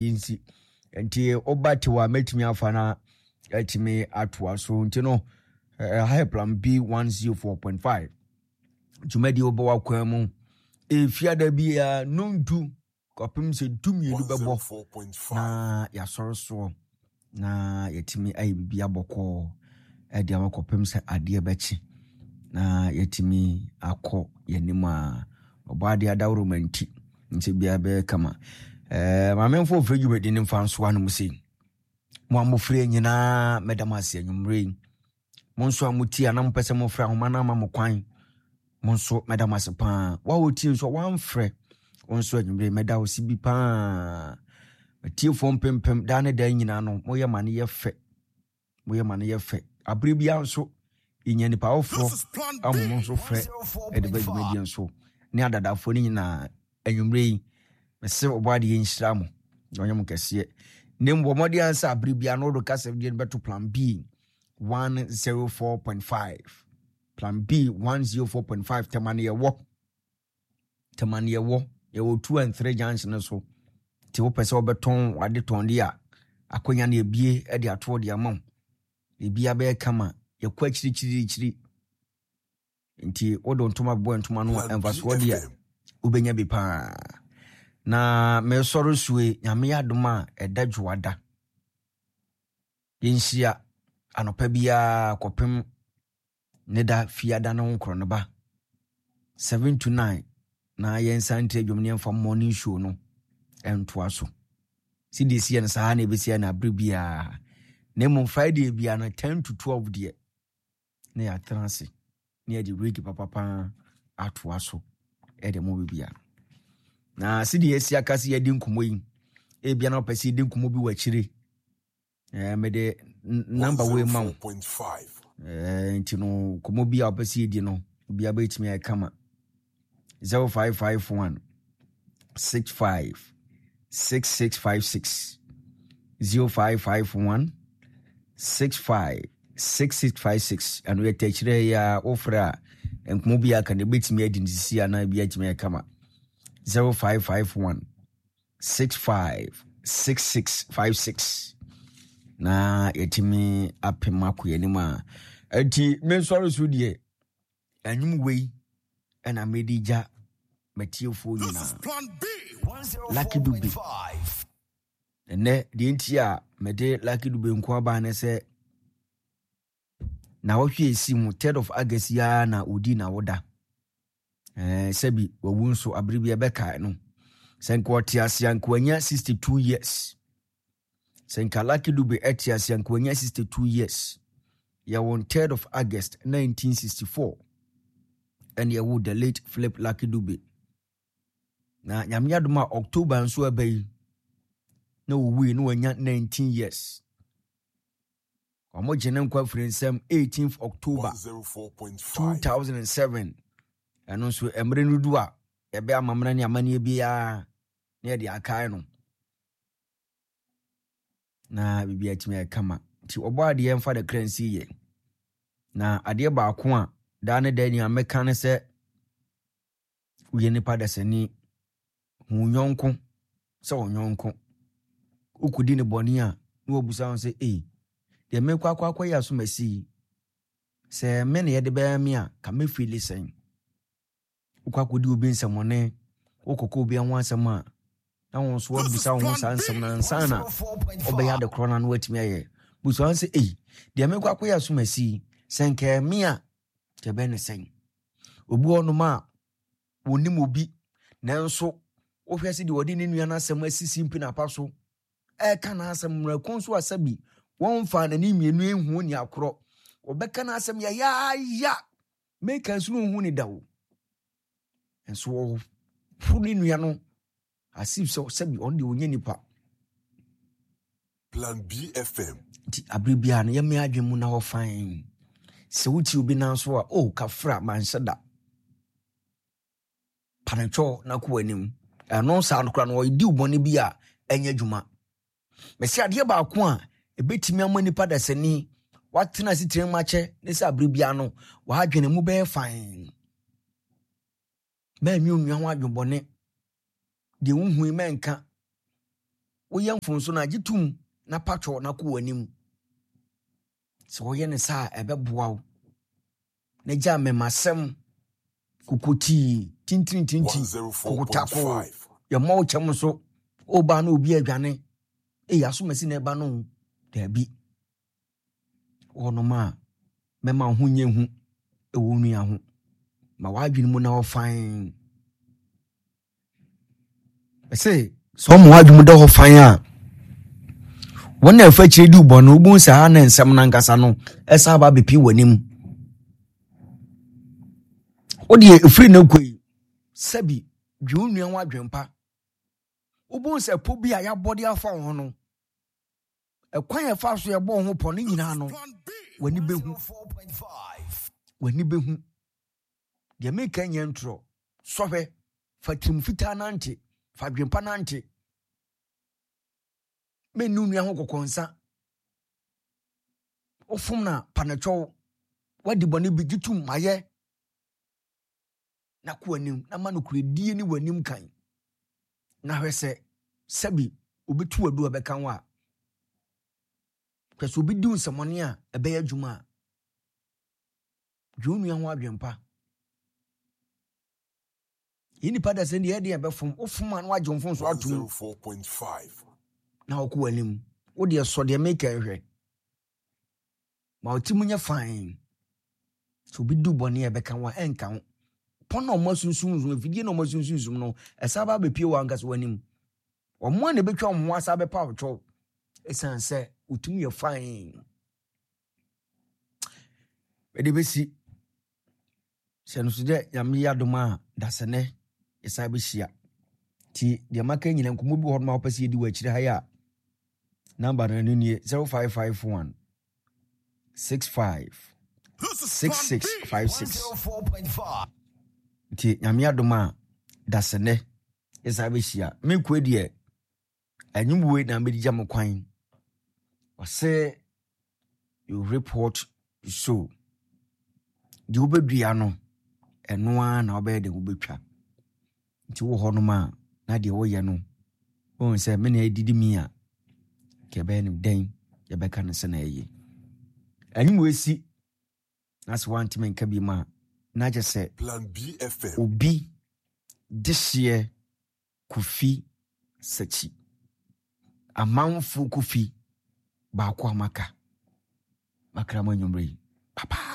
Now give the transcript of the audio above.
Nsi nti woba tew a mɛtumi afa na atumi atoa so nti no ɛha yɛ Plan B 104.5 dwumadi wobɔ w'akwan mu ɛfiada biara nondu kɔpem sɛ 12 bɛbɔ na yɛasɔre soɔ na yɛtumi ayɛ biribi abɔkɔɔ ɛde ama kɔpem sɛ adeɛ bɛkye na yɛtumi akɔ yɛnim a ɔbɔ adeɛ adaworo ma nti nti biara bɛyɛ kama. Maame mfo ofiri dwumadi no mfa nso ano mu sei. Mo a mofiri nyinaa mɛda mo ase anwummerɛ yi. Mo nso a motie a na mopɛ sɛ mofrɛ ahoma no ama mo kwan, mo nso mɛda mo ase paa. Wo a wotie nso a woamfrɛ, wo nso anwummerɛ yi mɛda wo se bi paa. Atiefoɔ mpempem daa ne daa nyinaa no moyɛ ma no yɛ fɛ. Moyɛ ma no yɛ fɛ. Abere biara nso yɛnya nipa foforɔ a mo nso frɛ de ba dwumadie nso ne adadafoɔ no nyinaa anwummerɛ yi mese ɔbɔ adeɛ nhyira mo na ɔnyɛ mo kɛseɛ na mmom bɔ mmɔden ansa abere biara no wode kasa deɛ no bɛto Plan B 104.5, Plan B 104.5. Tɛma no yɛwɔ tɛma no yɛwɔ 2 and 3 junction no so nti wopɛ sɛ wobɛtɔn wade tɔn de a akwanya no ebie de atoɔ de ama wo. Biribiara bɛyɛ kama, yɛkɔ akyirikyirikyiri nti wode ntoma bɛbɔ ntoma no a mfasoɔ deɛ wobɛnya bi paa. Na mesɔre sue Nyame adom a ɛda dwoada yɛnhyia anɔpa biara kɔpem ne da fiada no nkorɔ no ba 7 to 9 na yɛnsan nti adwom ne yɛmfa morning show no ntoa so. Si deɛ ɛsi yɛ no saa na ɛbɛsi yɛ no abere biara, na mmom Friday biara no 10 to 12 deɛ na yɛatena ase na yɛde regi papapa atoa so ɛde mo bibia. Na si deɛ ɛsi aka si yɛdi nkɔmmɔ yi, ebia na ɔpɛ sɛ yɛdi nkɔmmɔ bi wɔ akyire, mede namba wei ma wo nti no nkɔmmɔ bi a ɔpɛ sɛ yɛdi no obiara bɛtumi ayɛ kama. 0551 65 6656, 0551 65 6656. Ɛno yɛ tɛkyerɛ yi a wofrɛ a nkɔmmɔ bi aka no ɛbɛtumi adi no sisi anaa bi atumi ayɛ kama. 0551 65 6656 na yɛtumi apem akɔ yɛn anim a ɛnti mensɔre so deɛ ɛnwom wei ɛna mede gya matiefoɔ nyinaa. Lucky Dube ɛnɛ deɛ nti a mede Lucky Dube nko aba ne sɛ na wɔhwɛ esi mu 3rd of August yi ara na odi na woda sɛbi wawu nso abere bi ɛbɛkae no sɛ nka ɔte ase a nka wanya 62 years. Sɛ nka Lucky Dube ɛte ase a nka wanya 62 years. Yɛwɔ 3rd of August 1964 ɛne ɛwo the late Philip Lucky Dube. Na Nyame adom a October nso ɛba yi na ɔwui na wanya 19 years. Wɔn gye ne nkwa firi nsɛm 18th October 2007. Ɛno nso mmerɛ no du a yɛbɛ amammerɛ ne amanneɛ biara na yɛde akae no na biribi atumi ayɛ kama. Nti ɔbɔ adeɛ mfa ne kra nsi yɛ. Na adeɛ baako a daa ne daa nea mɛka ne sɛ woyɛ nipa dasani, hu wo yɔnko sɛ wo yɔnko. Wokɔdi ne bɔne a na wabusa ho sɛ ei, deɛ mekɔ akɔ akɔyɛ asomasi yi, sɛ me na yɛde bɛyɛ me a ka mɛfili sɛn? Wokɔ akɔdi obi nsɛmɔne, wokɔkɔ obi ho asɛm a na wɔn nso wabusa wo ho saa nsɛm no ansa na ɔbɛyɛ ade korɔ no ano watumi ayɛ. Busa wɔn sɛ ei, deɛ mekɔ akɔyɛ asomasi yi, sɛ nka me a kyɛ bɛn ne sɛn? Obi wɔ hɔnom a wɔnim obi nanso wohwɛ sɛ deɛ ɔde ne nua no asɛm asisi mpinapa so ɛreka n'asɛm mmerɛko nso a sɛbi wɔmfa n'ani mmienu ehu ni akorɔ wɔbɛka n'asɛm yayaaya meka nso no nhu ne da o nso ɔhoro ne nua no as if sɛ sɛbi ɔno deɛ ɔnyɛ nipa. Plan BFM. Nti abere biara no yɛmmea adwene mu na hɔ fann. Sɛ wotie obi nan so a, oh, kafra, manhyɛ da. Panetwɔ na kɔ w'anim. Ɛno saa no koraa no ɔdi wo bɔne bi a ɛnyɛ adwuma. Mɛsi adeɛ baako a ɛbɛtumi ama nipa dasani watena ase tirim akyɛ ne sɛ abere biara no w'adwene mu bɛyɛ fann. Mɛnwe onua ho adwembɔne. Deɛ wohui mɛnka. Woyɛ mfomso no a, gye tom na patwɔ na kɔ w'anim. Sɛ woyɛ no saa a, ɛbɛboa wo. Na gya mmɛmasɛm, kokotii, tintirintinti, kokotako, yɛmmɔ wo kyɛm so, woba na obi adwane. Ei, asomasi na ɛba no. Daabi. Wɔnom a, mɛma wo ho nyɛ hu wɔ wo nua ho. Ma w'adwene mu na hɔ fann. Ɛsɛ sɛ ɔma w'adwene mu da hɔ fann a, wɔn a ɛfa akyire di wo bɔne no, wobɛhu sɛ ha na nsɛm no ankasa no ɛsan aba abɛpie w'anim. Wodeɛ ɛfiri no kɔ yi, sɛbi dwe wo nua ho adwempa. Wobɛhu sɛ po bi a yɛabɔ de afa wo ho no, ɛkwan a ɛfa so yɛbɔ wo ho pɔ no nyinaa no, w'ani bɛhu. W'ani bɛhu. Deɛ meka nyɛ ntorɔ. Sɔhwɛ, fa tirim fitaa nante, fa adwempa nante. Menni wo nua ho kɔkɔnsa. Wofom na pa no kyɛw. Woadi bɔne bi, gye tom, mayɛ. Na kɔ anim, na ma nokorɛdie ne w'anim kan. Na hwɛ sɛ sɛbi obi to adu a ɛbɛka wo a. Hwɛ sɛ obi di wo nsɛmɔne a ɛbɛyɛ adwuma a. Dwen wo nua ho adwempa. Yɛn nipa da sɛ deɛ ɛdeɛ ɛbɛfom wofom a na wagye wo mfomso atom na wokɔ w'anim. Wo deɛ sɔ deɛ meka nhwɛ. Ma wo ti mu nyɛ fann. Sɛ obi di bɔne a ɛbɛka wo a ɛnka wo. Pɔn na wɔn asunsumsum afidie na wɔn asunsumsum no ɛsan ba abɛpie wɔ ankasa w'anim. Wɔn a na ɛbɛtwa wɔn ho asa bɛpa wo kyɛw ɛsiane sɛ wo ti mu yɛ fann. Mede bɛsi sɛ no so dɛ Nyame yɛ adom a dasɛnɛ yɛsan bɛhyia. Nti deɛ maka nyina nkɔmmɔ bi wɔ hɔ nom a wopɛ sɛ yɛdi wɔ akyire ha yi a namba no ɛno nie 0551 65 6656 nti Nyame adom a dasɛnɛ yɛsan bɛhyia. Mekue deɛ Anwummerɛ na mede gya mo kwan. Ɔsɛ you reap what you sow. Deɛ wobɛdua no, ɛno ara na wobɛyɛ deɛ wobɛtwa. Nti wɔ hɔnom a, na deɛ woyɛ no, wohu sɛ me na ɛdidi mi a, nka ɛbɛyɛ no dɛn yɛbɛka no sɛ na ɛyɛ. Anwummerɛ si na sɛ woantumi nka bi mu a, na kyɛ sɛ obi dehyeɛ Kofi Sakyi. Amanfoɔ Kofi baako a maka. Makra mo anwummerɛ yi. Bye bye.